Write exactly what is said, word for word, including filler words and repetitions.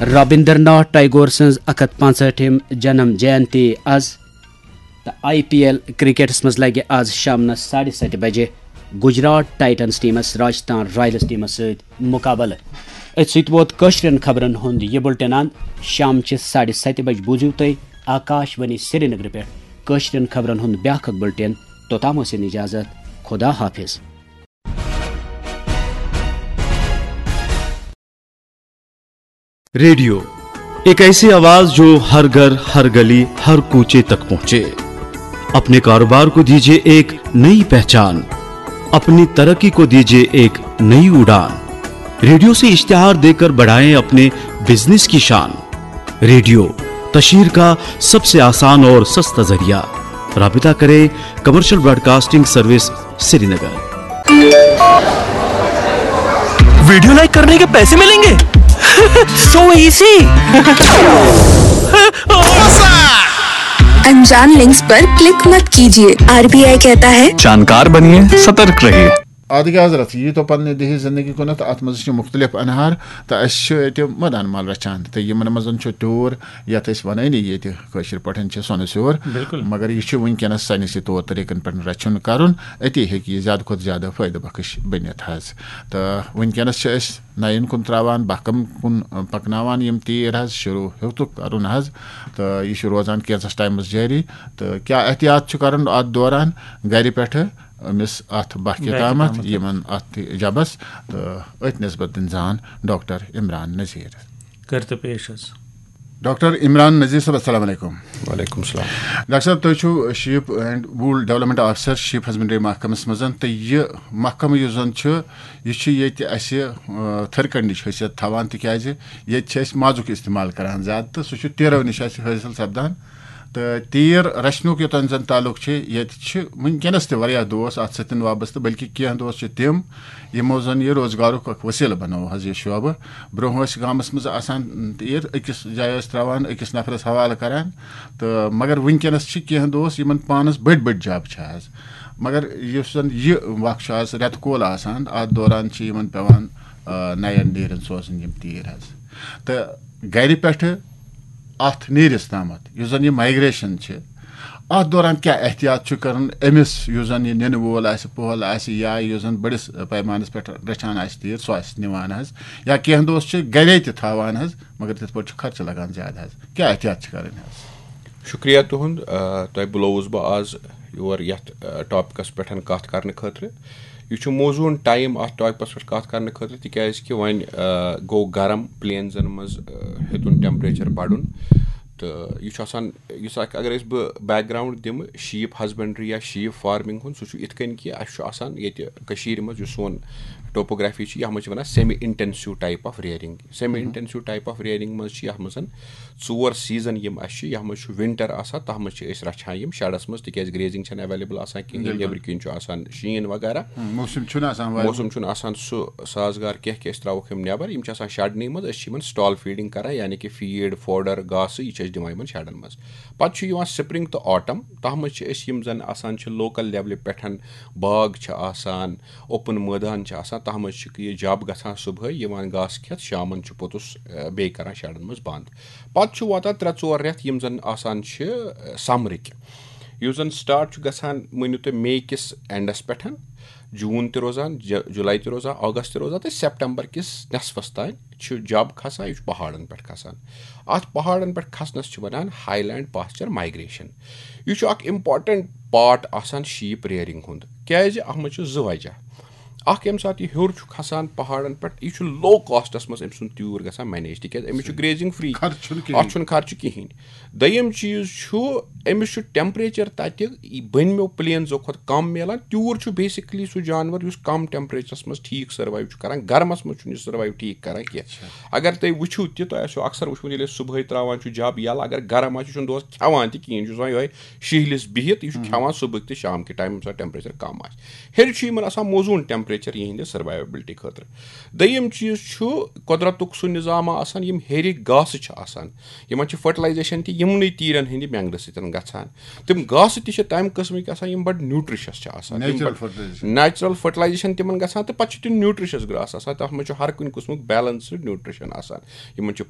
رابندر ناتھ ٹیگور سٕنٛز اکھ ہتھ پانٛژہٲٹھِم جنم جینتی از، تہٕ آئی پی ایل کرکٹس منٛز لگہِ از شامنس ساڑِ ستہِ بجہِ گجرات ٹائٹنز ٹیمس راجستھان رائلز ٹیمس سۭتۍ مقابلہٕ۔ أتھۍ سۭتۍ ووت کٲشرٮ۪ن خبرن ہُنٛد یہِ بُلٹن اند۔ شامچہِ ساڑِ ستہِ بجہِ بوٗزِو تُہۍ آکاش وانی سرینگرٕ پٮ۪ٹھ کٲشرٮ۪ن خبرن ہُنٛد بیٛاکھ اکھ بُلٹن۔ توٚتام ٲسِن اجازت۔ خدا حافظ۔ ریڈیو، ایک ایسی آواز جو ہر گھر، ہر گلی، ہر کوچے تک پہنچے۔ اپنے کاروبار کو دیجیے ایک نئی پہچان، اپنی ترقی کو دیجیے ایک نئی اڑان۔ ریڈیو سے اشتہار دیکر بڑھائیں اپنے بزنس کی شان۔ ریڈیو، تشہیر کا سب سے آسان اور سستا ذریعہ۔ رابطہ کریں کمرشل براڈکاسٹنگ سروس، سری نگر۔ ویڈیو لائک کرنے کے پیسے ملیں گے؟ So easy. अनजान लिंक्स पर क्लिक मत कीजिए। आरबीआई कहता है, जानकार बनिए, सतर्क रहिए। آدگہ حضرت، یہِ تو پننہِ دِہِچ زندگی کُنتھ، تہٕ اتھ منٛز چھِ مُختلف انہار، تہٕ اسہِ چھُ اتہِ مٲدان مال رچھان، تہٕ یِمن منٛز چھُ ٹیوٗر، یتھ أسۍ ونٲنی ییٚتہِ کٲشِر پٲٹھۍ چھِ سۄنہٕ سیور۔ بِلکُل۔ مگر یہِ چھُ وٕنکیٚنس سانہِ سٕے طور طریٖقن پٮ۪ٹھ رچھُن کرُن، أتی ہیٚکہِ یہِ زیادٕ کھۄتہٕ زیادٕ فٲیدٕ بخش بٔنِتھ حظ۔ تہٕ وٕنکیٚنس چھِ أسۍ نَیَن کُن تراوان، بہکم کُن، آ، پکناوان یِم تیٖر حظ، شروع ہیوٚتُکھ کرُن حظ۔ تہٕ یہِ چھُ روزان کینٛژس ٹایمس جٲری۔ تہٕ کیٛاہ احتیاط چھُ کرُن اتھ دوران گرِ پٮ۪ٹھٕ أمِس اتھ بہکہِ بہکہِ تامتھ، تامتھ۔ یِمن اتھ جبس، تہٕ أتھۍ نسبت دِنۍ زان ڈاکٹر عمران نذیر۔ کٔرۍ تو پیش حظ۔ ڈاکٹر عمران نذیر صٲب، السلام علیکم۔ وعلیکم السلام۔ ڈاکٹر صٲب، تُہۍ چھِو شیٖپ اینڈ ووٗل ڈیولپمنٹ آفیسر شیٖپ ہسبنڈری محکمس منٛز، تہٕ یہِ محکمہٕ یُس زن چھُ، یہِ چھُ ییٚتہِ اَسہِ، آ، تھٔرۍ کنڈٕچ حیثیت تھاوان، تِکیازِ ییٚتہِ چھِ أسۍ مازُک استعمال کران زیادٕ، تہٕ سُہ چھُ تیٖرو نِش اَسہِ حٲصِل سپدان۔ تہٕ تیٖر رچھنُک یوٚتام زن تعلق چھُ، ییٚتہِ چھِ وٕنکیٚنس تہِ واریاہ دوس اَتھ سۭتۍ وابستہٕ، بلکہِ کینٛہہ دوس چھِ تِم، یِمو زن یہِ روزگارُک اکھ وسیلہٕ بنوو حظ یہِ شعبہٕ۔ برونٛہہ ٲسۍ گامس منٛز آسان تیٖر، أکِس جایہِ ٲسۍ ترٛاوان، أکِس نفرس حوالہٕ کران، تہٕ مگر وٕنکیٚنس چھِ کینٛہہ دوس یِمن پانس بٔڑۍ بٔڑۍ جب چھِ حظ۔ مگر یُس زن یہِ وق چھُ آز رٮ۪تہٕ کول آسان، اتھ دوران چھِ یِمن پٮ۪وان، آ، نین نیرن سوزٕنۍ یِم تیٖر حظ۔ تہٕ گرِ پٮ۪ٹھٕ اتھ نیٖرِس تامتھ یُس زن یہِ مایگریشن چھِ، اتھ دوران کیٛاہ احتیاط چھُ کرُن أمِس یُس زن یہِ نِنہٕ وول آسہِ، پۄہل آسہِ، یا یُس زن بٔڑِس پیمانس پٮ۪ٹھ رچھان آسہِ تیٖر، سُہ آسہِ نِوان حظ، یا کینٛہہ دوس چھِ گرے تہِ تھاوان حظ، مگر تِتھ پٲٹھۍ چھُ خرچہٕ لگان زیادٕ حظ۔ کیٛاہ احتیاط چھِ کرٕنۍ حظ؟ شُکریہ تُہُنٛد، آ، تۄہہِ بُلووُس بہٕ آز یور یَتھ، آ، ٹاپِکَس پٮ۪ٹھ کَتھ کَرنہٕ خٲطرٕ۔ یہِ چھُ موزوٗن ٹایم اَتھ ٹاپِکَس پٮ۪ٹھ کَتھ کَرنہٕ خٲطرٕ، تِکیٛازِ کہِ وۄنۍ، آ، گوٚو گرم پلینزَن منٛز، آ، ہیوٚتُن ٹیمپریچر بَڑُن۔ تہٕ یہِ چھُ آسان، یُس اَکھ، اگر أسۍ بہٕ بیک گراوُنڈ دِمہٕ شیٖپ ہسبنڈری یا شیٖپ فارمِنگ ہُنٛد، سُہ چھُ یِتھ کٔنۍ کہِ اَسہِ چھُ آسان ییٚتہِ کٔشیٖرِ منٛز یُس سون ٹوپوگرافی چھِ، یَتھ منٛز چھِ وَنان semi intensive type of rearing۔ Semi intensive type of rearing منٛز چھِ یَتھ منٛز ژور سیٖزن یِم اَسہِ چھِ، یَتھ منٛز چھُ ونٹر آسان، تَتھ منٛز چھِ أسۍ رَچھان یِم شیڈس منٛز، تِکیازِ گریزنگ چھَنہٕ اویلیبل آسان کِہینۍ، بِلکُل۔ نیٚبرٕ کِنۍ چھُ آسان شیٖن وغیرہ۔ موسم چھُنہٕ آسان وارٕ۔ موسم چھُنہٕ آسان سُہ سازگار کینٛہہ کہِ أسۍ ترٛاووکھ یِم نٮ۪بر، یِم چھِ آسان شیڈنٕے منٛز، أسۍ چھِ یِمن سٹال فیڈنگ کران، یعنی کہِ فیٖڈ، فوڈر، گاسہٕ، یہِ چھِ أسۍ دِوان یِمن شیڈن منٛز۔ پتہٕ چھُ یِوان سپرنگ تہٕ آٹم، تَتھ منٛز چھِ أسۍ یِم زن آسان چھِ لوکل لیولہِ پٮ۪ٹھ، باغ چھِ آسان، اوپن مٲدان چھِ آسان، تَتھ منٛز چھِ یہِ جب گژھان صبحٲے، یِوان گاسہٕ کھٮ۪تھ، شامن چھُ پوٚتُس، آ، بیٚیہِ کران شیڈن منٛز بند۔ پتہٕ چھُ واتان ترٛےٚ ژور رٮ۪تھ یِم زن آسان چھِ، آ، سمرٕکۍ۔ یُس زن سٹارٹ چھُ گژھان، مٲنِو تُہۍ، مے کِس اینڈس پٮ۪ٹھ، جوٗن تہِ روزان، ج-، جولائی تہِ روزان، اگست تہِ روزان تہٕ سپٹمبر کِس نصفس تام چھُ جب کھسان، یہِ چھُ پہاڑن پٮ۪ٹھ کھسان۔ اتھ پہاڑن پٮ۪ٹھ کھسنس چھِ ونان ہائی لینڈ پاسچر مائگریشن۔ یہِ چھُ اکھ امپورٹنٹ پارٹ آسان شیپ ریئرنگ ہُنٛد، کیازِ اتھ منٛز چھُ زٕ وجہ۔ اکھ، ییٚمہِ ساتہٕ یہِ ہیوٚر چھُ کھسان پہاڑن پٮ۪ٹھ، یہِ چھُ لو کاسٹس منٛز أمۍ سُنٛد تیوٗر گژھان مینیج، تِکیازِ أمِس چھُ گریزنگ فری، خرچہٕ چھُنہٕ کِہیٖنۍ۔ اتھ چھُنہٕ خرچہٕ کِہینۍ۔ دوٚیِم چیٖز چھُ، أمِس چھُ ٹیمپریچر تتہِ بٔنمیو پلینزو کھۄتہٕ کم میلان۔ تیوٗر چھُ بیسکلی سُہ جانور یُس کم ٹیمپریچرس منٛز ٹھیٖک سروایو چھُ کران، گرمس منٛز چھُنہٕ یہِ سروایو ٹھیٖک کران کینٛہہ۔ اگر تُہۍ وٕچھِو تہِ، تۄہہِ آسیو اکثر وٕچھمُت، ییٚلہِ أسۍ صبحٲے ترٛاوان چھُ جب یَلہٕ، اگر گرم آسہِ، یہِ چھُنہٕ دۄہس کھٮ۪وان تہِ کِہینۍ، یہِ چھُ آسان یِہوٚے شِہلِس بِہِتھ، یہِ چھُ کھٮ۪وان صبحٕکۍ تہٕ شام کہِ ٹایمہٕ، ییٚمہِ ساتہٕ ٹیمپریچر کم آسہِ۔ ہیٚرِ چھُ یِمن آسان موزوٗن ٹیمپریچر یِہنٛدِ سروایویبلٹی خٲطرٕ۔ دوٚیِم چیٖز چھُ قۄدرتُک سُہ نظام آسان، یِم ہیٚرِ گاسہٕ چھِ آسان، یِمن چھِ فرٹیلایزیشن تہِ یِمنٕے تیٖرن ہٕنٛدِ مٮ۪نٛگنہٕ سۭتۍ گژھان۔ تِم گاسہٕ تہِ چھِ تَمہِ قٕسمٕکۍ آسان، یِم بَڑٕ نیوٗٹرِشَس چھِ آسان۔ تِم Natural بَڑٕ fertilization۔ Natural fertilization تِمن گژھان، تہٕ پَتہٕ چھُ تِم نیوٗٹرِشَس گرٛاس آسان، تَتھ منٛز چھُ ہر کُنہِ قٕسمُک بیلنسٕڈ نیوٗٹرِشن آسان۔ یِمن چھُ